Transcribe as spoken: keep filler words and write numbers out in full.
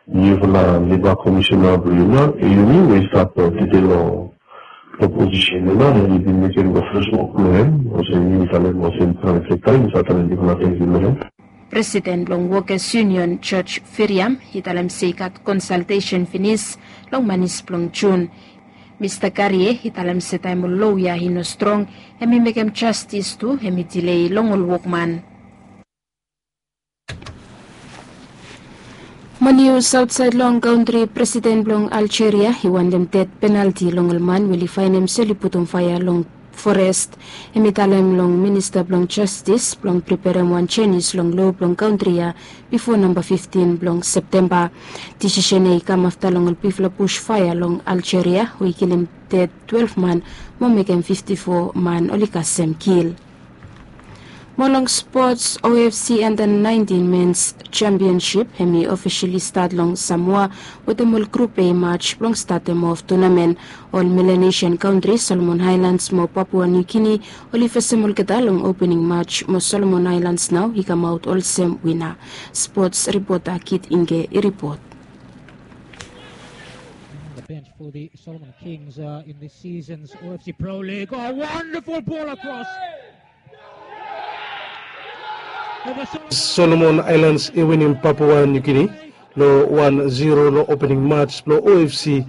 Niufala leba komisena blong yumi we i stap tede long posisen ya nao, em i bin mekem long fes wok blong em olsem yumi talem olsem prime sekta yumi save talem bikfala tengkiu long em. Presiden blong Workers Union George Firiam i talem se i gat konsaltesen finis long manis blong Jun. Mista Karie i talem se taem ol lo ya i no strong, em i mekem jastis tu em i dilei long ol wokman. Mo nius aotsaed long kantri, presiden blong Aljeria i wantem ded penalti long ol man we oli faenem se oli putum faea long forest. Em i talem long minista blong jastis blong preperem wan jenis long lo blong kantri ya bifo namba fiftin blong Septemba. Disisen ya i kam afta long ol bigfala bus faea long Aljeria we i kilim ded twelef man mo mekem fifti fo man oli kasem kil. Mo long spots, O F C Under nineteen Men's Championship hem i ofisali stat long Samoa wetem ol grup A match blong statem of tunamen. Ol Melanesian kantri, Solomon Islands mo Papua New Guinea, oli fesem olgeta long opening match mo Solomon Islands nao i kamaot olsem wina. Spots ripota Kit Inge i ripot. The bench for the Solomon Kings uh, in this season's O F C Pro League. Oh, wonderful ball across. Solomon Islands i winim Papua New Guinea long wan zero long opening match blong O F C